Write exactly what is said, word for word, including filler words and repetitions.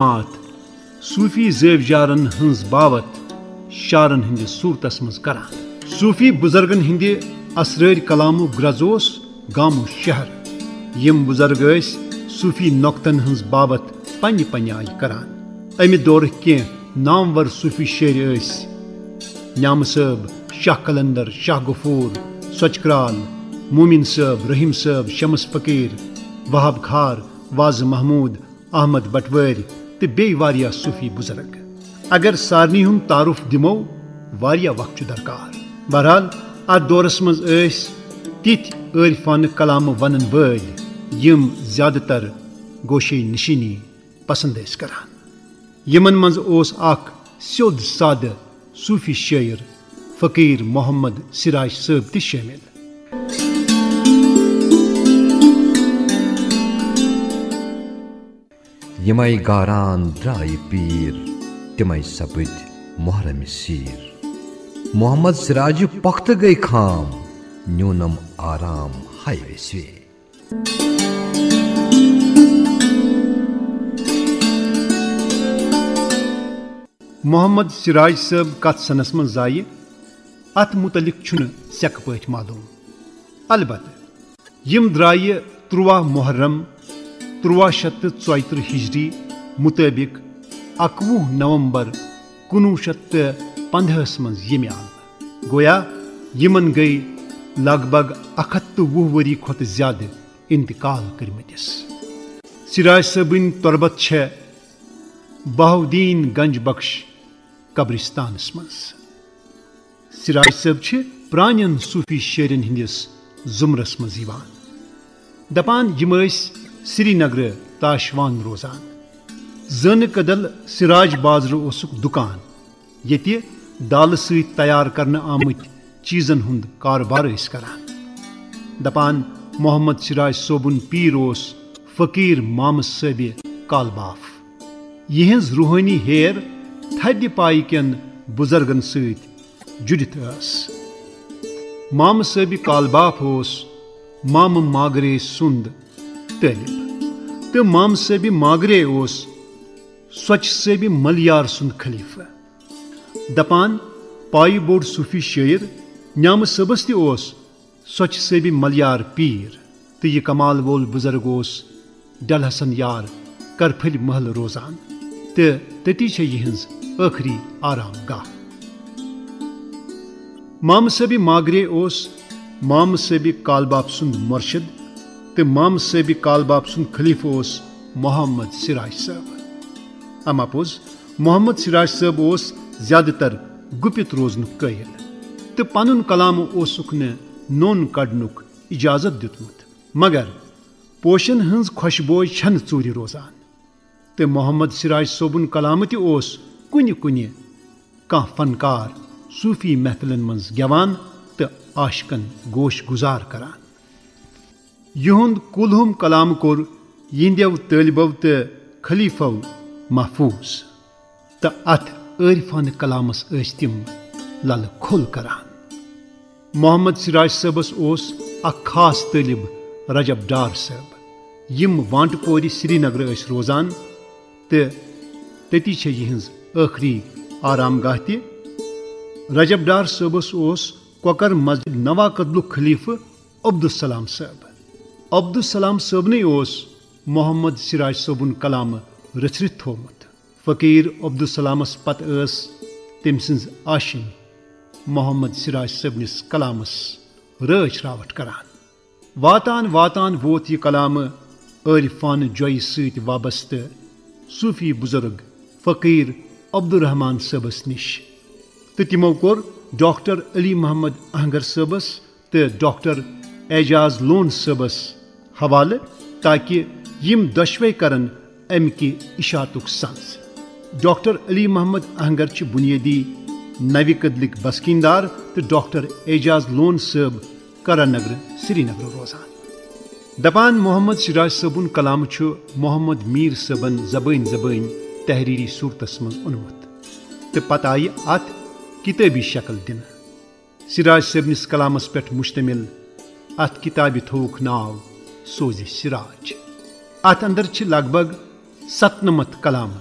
مات صوفی زٲوۍ جارن ہٕنٛز باوتھ شعرن ہٕنٛدِس صوٗرتس منٛز کران۔ صوفی بُزرگن ہٕنٛدِ اسرٲرۍ کلامُک گرٛز اوس گامہٕ شہر۔ یِم بُزرگ ٲسۍ صوفی نۄقطن ہٕنٛز باوتھ پننہِ پننہِ آیہِ کران۔ امہِ دورٕکۍ کینٛہہ نامور صوفی شٲعر ٲسۍ نیامہٕ صٲب، شاہ قلندر، شاہ غفور، سۄچہٕ کرٛال، مومن صٲب، رحیم صٲب، شمس فقیٖر، وہاب کھار، وازٕ محمود، احمد بٹوٲرۍ تہٕ بیٚیہِ واریاہ صوفی بُزرگ۔ اگر سارنٕے ہُنٛد تعارُف دِمو، واریاہ وقت چھُ درکار۔ بہرحال، اتھ دورس منٛز ٲسۍ تِتھۍ عٲرفانہٕ کلامہٕ ونن وٲلۍ، یِم زیادٕ تر گوشے نشینی پسند ٲسۍ کران۔ یِمن منٛز اوس اکھ سیوٚد سادٕ صوفی شٲعر فقیٖر محمد سراج صٲب تہِ شٲمِل۔ یِمے گاران درٛایہِ پیٖر، تِمے سپٕدۍ محرمِ سیٖر۔ محمد سراجہِ پۄختہٕ گٔے خام، نیوٗنم آرام ہاے ویسوے۔ محمد سراج صٲب کتھ سنس منٛز زایہِ، اتھ متعلق چھُنہٕ سیٚکہٕ پٲٹھۍ معلوم۔ البتہ، یِم درٛایہِ تُرٛواہ محرم، تُرٛواہ شیٚتھ تہٕ ژۄیہِ ترٕٛہ ہجری مُطٲبِق اَکوُہ نومبر کُنوُہ شیٚتھ تہٕ پنٛداہس منٛز ییٚمہِ عالمہٕ۔ گویا یِمن گٔے لگ بگ اَکھ ہَتھ تہٕ وُہ ؤری کھۄتہٕ زیادٕ انتقال کٔرمٕتِس۔ سراج صٲبٕنۍ تربت چھےٚ بہاؤالدین گنج بخش قبرستانس منٛز۔ سراج صٲب چھِ پرٛانٮ۪ن صوٗفی شٲعرن ہٕنٛدِس زُمرس منٛز یِوان۔ دپان، یِم ٲسۍ سرینگرٕ تاشوان روزان۔ زٲنہٕ کدل سراج بازرٕ اوسُکھ دُکان، ییٚتہِ دالہٕ سۭتۍ تیار کرنہٕ آمٕتۍ چیٖزن ہُنٛد کارٕبار ٲسۍ کران۔ دپان، محمد سراج صٲبُن پیٖر اوس فقیٖر مامہٕ صٲبِ کالباف۔ یِہٕنٛز روحٲنی ہیر تھدِ پایہِ کٮ۪ن بُزرگن سۭتۍ جُڑِتھ ٲس۔ مامہٕ صٲبِ کالباف اوس مامہٕ ماگرے سُنٛد طٲلب تہٕ مامہٕ صٲبِ ماگرے اوس سۄچہٕ صٲبِ ملیار سُنٛد خلیفہٕ۔ دپان، پایہِ بوٚڑ صوٗفی شٲعر نیامہٕ صٲبس تہِ اوس سۄچہٕ صٲبِ ملیار پیٖر تہٕ یہِ کمال وول بُزرگ اوس ڈل حسن یار کرپھٕلۍ محلہٕ روزان تہٕ تٔتی چھےٚ یِہٕنٛز ٲخری آرام گاہ۔ مامہٕ صٲبِ ماگرے اوس مامہٕ صٲبِ کالباف سُنٛد مرشد تہٕ مامہٕ صٲبِ کالباف سُنٛد خلیفہٕ اوس محمد سراج صٲب۔ اما پوٚز، محمد سراج صٲب اوس زیادٕ تر گُپِتھ روزنُک قٲیِل تہٕ پنُن کلام اوسُکھ نہٕ نوٚن کڑنُک اجازت دیُتمُت، مگر پوشن ہٕنٛز خۄشبوے چھنہٕ ژوٗرِ روزان۔ تہٕ محمد سراج صٲبُن کلام تہِ اوس کُنہِ کُنہِ کانٛہہ فنکار صوٗفی محفلن منٛز گٮ۪وان تہٕ عاشقن گوش گُزار کران۔ یِہُنٛد کُلہُم کلام کوٚر یِہنٛدیو طٲلبو تہٕ خلیفو محفوٗظ، تہٕ اتھ عٲرفانہٕ کلامس ٲسۍ تِم للہٕ کھول کران۔ محمد سراج صٲبس اوس اکھ خاص طٲلب رجب ڈار صٲب، یِم وانٹہٕ پورِ سرینگرٕ ٲسۍ روزان تہٕ تٔتی چھےٚ یِہٕنٛز ٲخری آرام گاہ تہِ۔ رجب ڈار صٲبس اوس کۄکر مسجد نوا کدلُک خلیفہٕ عبدالسلام صٲب۔ عبدالسلام صٲبنٕے اوس محمد سراج صٲبُن کلامہٕ رٔچھرِتھ تھوومُت۔ فقیٖر عبدالسلامس پتہٕ ٲس تٔمۍ سٕنٛز آشِنۍ محمد سراج صٲبنِس کلامس رٲچھ راوٹھ کران۔ واتان واتان ووت یہِ کلامہٕ عٲرفانہٕ جۄیہِ سۭتۍ وابستہٕ صوٗفی بُزرگ فقیٖر عبدالرحمان صٲبس نِش، تہٕ تِمو کوٚر ڈاکٹر علی محمد اہنگر صٲبس تہٕ ڈاکٹر اعجاز لون صٲبس حوالہٕ، تاکہ یِم دۄشوے کرن امہِ کہِ اشاعتُک سنز۔ ڈاکٹر علی محمد اہنگر چھِ بنیٲدی نوِ کدلٕکۍ بسکیٖندار تہٕ ڈاکٹر اعجاز لون صٲب کرن نگر، سرینگر روزان۔ دپان، محمد سراج صٲبُن کلام چھُ محمد میٖر صٲبن زبٲنۍ زبٲنۍ تحریری صوٗرتس منٛز اونمُت تہٕ پتہٕ آیہِ اتھ کتٲبی شکل دِنہٕ۔ سراج صٲبنِس کلامس پٮ۪ٹھ مشتمل اتھ کتابہِ تھووُکھ ناو سوزِ سراج۔ اتھ اندر چھِ لگ بگ ستنمتھ کلامہٕ۔